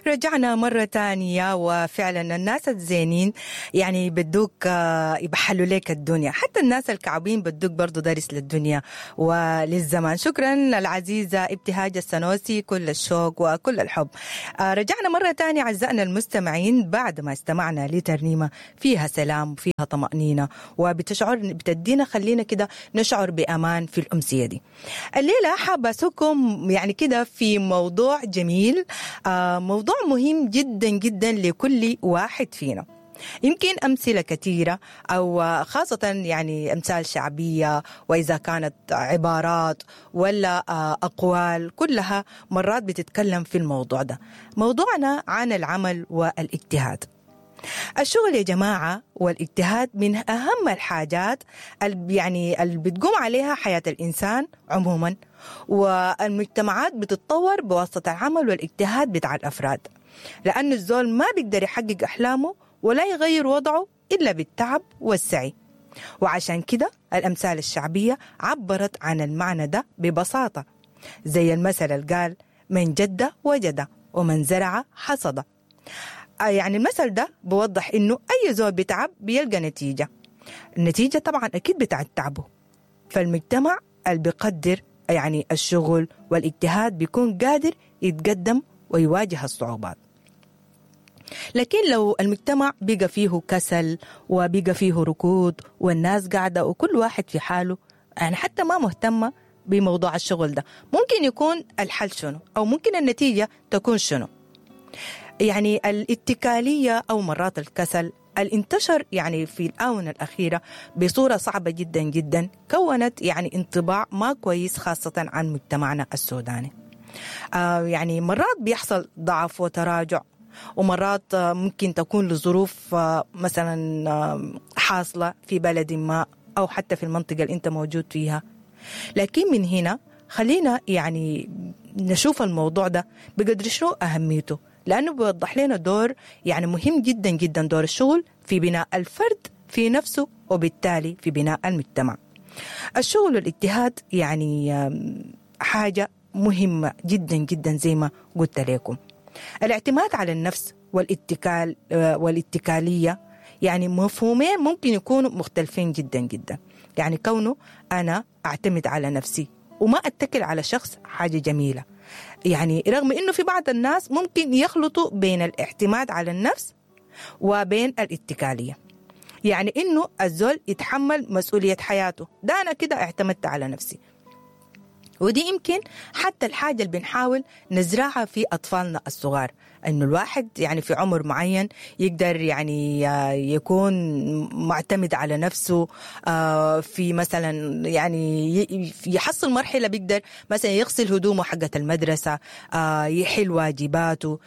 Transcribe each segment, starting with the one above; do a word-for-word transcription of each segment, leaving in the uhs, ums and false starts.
رجعنا مرة تانية، وفعلا الناس الزينين يعني بدوك يبحلوا لك الدنيا، حتى الناس الكعبين بدوك برضو درس للدنيا وللزمان. شكرا العزيزة ابتهاج السنوسي، كل الشوق وكل الحب. رجعنا مرة تانية أعزائنا المستمعين بعد ما استمعنا لترنيمة فيها سلام وفيها طمأنينة وبتشعر بتدينا خلينا كده نشعر بأمان في الأمسية دي. الليلة حابة أسوكم يعني كده في موضوع جميل، موضوع مهم جدا جدا لكل واحد فينا. يمكن أمثلة كثيرة أو خاصة يعني أمثال شعبية، وإذا كانت عبارات ولا أقوال، كلها مرات بتتكلم في الموضوع ده. موضوعنا عن العمل والاجتهاد. الشغل يا جماعة والاجتهاد من أهم الحاجات اللي يعني اللي بتقوم عليها حياة الإنسان عموما، والمجتمعات بتتطور بواسطة العمل والاجتهاد بتاع الأفراد، لأن الزول ما بيقدر يحقق أحلامه ولا يغير وضعه إلا بالتعب والسعي. وعشان كده الأمثال الشعبية عبرت عن المعنى ده ببساطة، زي المثل اللي قال من جد وجد ومن زرع حصد. يعني المثل ده بوضح إنه أي زول بتعب بيلقى نتيجة، النتيجة طبعا أكيد بتاعت تعبه. فالمجتمع اللي بيقدر يعني الشغل والاجتهاد بيكون قادر يتقدم ويواجه الصعوبات. لكن لو المجتمع بقى فيه كسل وبقى فيه ركود والناس قاعدة وكل واحد في حاله، يعني حتى ما مهتمة بموضوع الشغل ده، ممكن يكون الحل شنو أو ممكن النتيجة تكون شنو؟ يعني الاتكالية أو مرات الكسل الانتشر يعني في الآونة الأخيرة بصورة صعبة جدا جدا، كونت يعني انطباع ما كويس خاصة عن مجتمعنا السوداني. آه يعني مرات بيحصل ضعف وتراجع، ومرات ممكن تكون لظروف مثلا حاصلة في بلد ما أو حتى في المنطقة اللي أنت موجود فيها. لكن من هنا خلينا يعني نشوف الموضوع ده بقدر شنو أهميته، لأنه بيوضح لنا دور يعني مهم جدا جدا، دور الشغل في بناء الفرد في نفسه وبالتالي في بناء المجتمع. الشغل والاجتهاد يعني حاجة مهمة جدا جدا زي ما قلت لكم. الاعتماد على النفس والاتكال والاتكالية يعني مفهومين ممكن يكونوا مختلفين جدا جدا. يعني كونه أنا أعتمد على نفسي وما أتكل على شخص حاجة جميلة، يعني رغم إنه في بعض الناس ممكن يخلطوا بين الاعتماد على النفس وبين الاتكالية. يعني إنه الزول يتحمل مسؤولية حياته، ده أنا كده اعتمدت على نفسي. ودي يمكن حتى الحاجة اللي بنحاول نزرعها في أطفالنا الصغار، إنه الواحد يعني في عمر معين يقدر يعني يكون معتمد على نفسه، في مثلا يعني يحصل مرحلة بيقدر مثلا يغسل هدومه حقة المدرسة، يحل واجباته،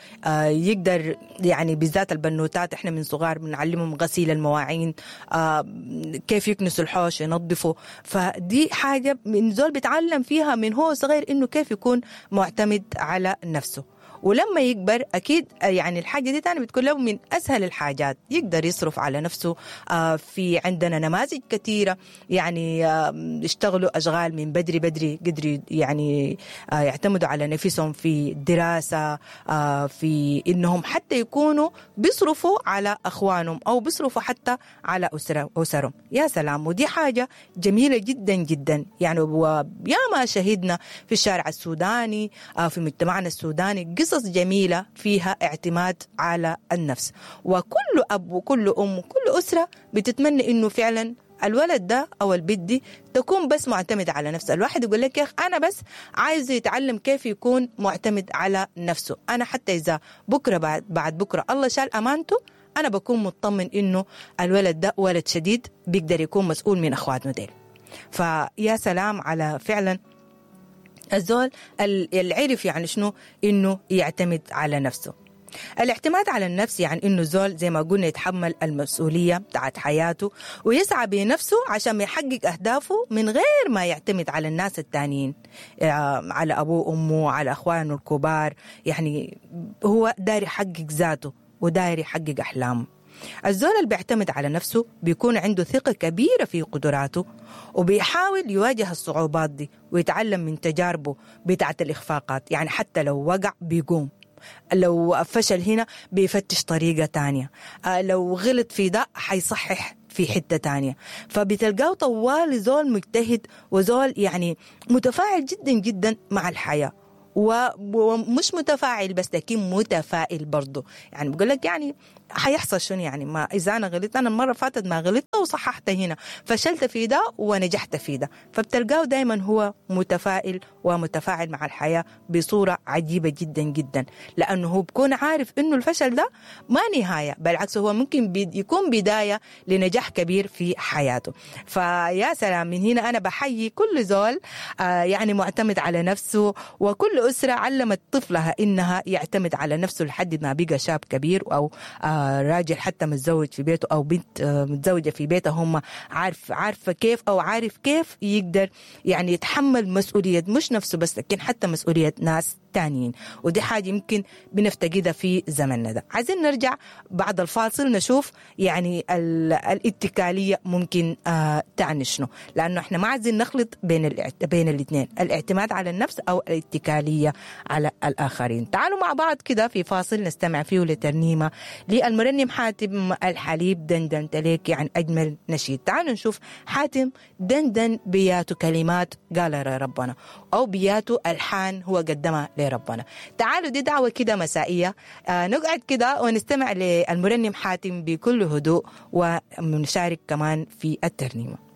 يقدر يعني بالذات البنوتات احنا من صغار بنعلمهم غسيل المواعين، كيف يكنسوا الحوش ينظفوا. فدي حاجة من زول بيتعلم فيها من هو صغير إنه كيف يكون معتمد على نفسه. ولما يكبر أكيد يعني الحاجة دي تاني بتكون له من أسهل الحاجات، يقدر يصرف على نفسه. في عندنا نماذج كثيرة يعني اشتغلوا أشغال من بدري بدري، قدروا يعني يعتمدوا على نفسهم في الدراسة، في إنهم حتى يكونوا بيصرفوا على أخوانهم أو بيصرفوا حتى على أسرهم. يا سلام، ودي حاجة جميلة جدا جدا. يعني وياما شهدنا في الشارع السوداني، في مجتمعنا السوداني، قصص جميلة فيها اعتماد على النفس. وكل أب وكل أم وكل أسرة بتتمنى إنه فعلا الولد ده أو البنت دي تكون بس معتمد على نفسه. الواحد يقول لك يا أخ أنا بس عايز يتعلم كيف يكون معتمد على نفسه، أنا حتى إذا بكرة بعد, بعد بكرة الله شال أمانته أنا بكون مطمن إنه الولد ده ولد شديد بيقدر يكون مسؤول من أخواتنا ديل. فيا سلام على فعلا الزول اللي عرف يعني شنو إنه يعتمد على نفسه. الاعتماد على النفس يعني إنه الزول زي ما قلنا يتحمل المسؤولية بتاعت حياته ويسعى بنفسه عشان يحقق أهدافه من غير ما يعتمد على الناس التانيين، على أبوه وأمه، على أخوانه الكبار. يعني هو داير يحقق ذاته وداير يحقق أحلامه. الزول اللي بيعتمد على نفسه بيكون عنده ثقة كبيرة في قدراته وبيحاول يواجه الصعوبات دي ويتعلم من تجاربه بتاعت الإخفاقات. يعني حتى لو وقع بيقوم. لو فشل هنا بيفتش طريقة تانية، آه لو غلط في ده حيصحح في حتة تانية. فبتلقاه طوال زول مجتهد وزول يعني متفاعل جدا جدا مع الحياة، ومش متفاعل بس لكن متفائل برضه. يعني بقول لك يعني حيحصل شنو يعني، ما إذا أنا غلطت، أنا المرة فاتت ما غلطت وصححت هنا، فشلت في ده ونجحت في ده. فبتلقاه دايما هو متفائل ومتفاعل مع الحياة بصورة عجيبة جدا جدا، لأنه هو بكون عارف إنه الفشل ده ما نهاية، بالعكس هو ممكن يكون بداية لنجاح كبير في حياته. فيا سلام، من هنا أنا بحيي كل زول آه يعني معتمد على نفسه، وكل أسرة علمت طفلها إنها يعتمد على نفسه لحد ما بقى شاب كبير أو آه راجل حتى متزوج في بيته أو بنت آه متزوجة في بيتها، هم عارف عارفة كيف أو عارف كيف يقدر يعني يتحمل مسؤولية مش نفسه بس لكن حتى مسؤولية ناس تانيين. ودي حاجة يمكن بنفتقدها في زمننا ده. عايزين نرجع بعد الفاصل نشوف يعني الاتكالية ممكن آه تعني شنو، لأنه احنا ما عايزين نخلط بين بين الاثنين، الاعتماد على النفس أو الاتكالية على الآخرين. تعالوا مع بعض كده في فاصل نستمع فيه لترنيمة للمرنم حاتم الحليب، دندن تليك، يعني أجمل نشيد. تعالوا نشوف حاتم دندن بياتو كلمات قال ربنا، أو بياتو ألحان هو قدمها لربنا. تعالوا دي دعوة كده مسائية، آه نقعد كده ونستمع للمرنم حاتم بكل هدوء ونشارك كمان في الترنيمة.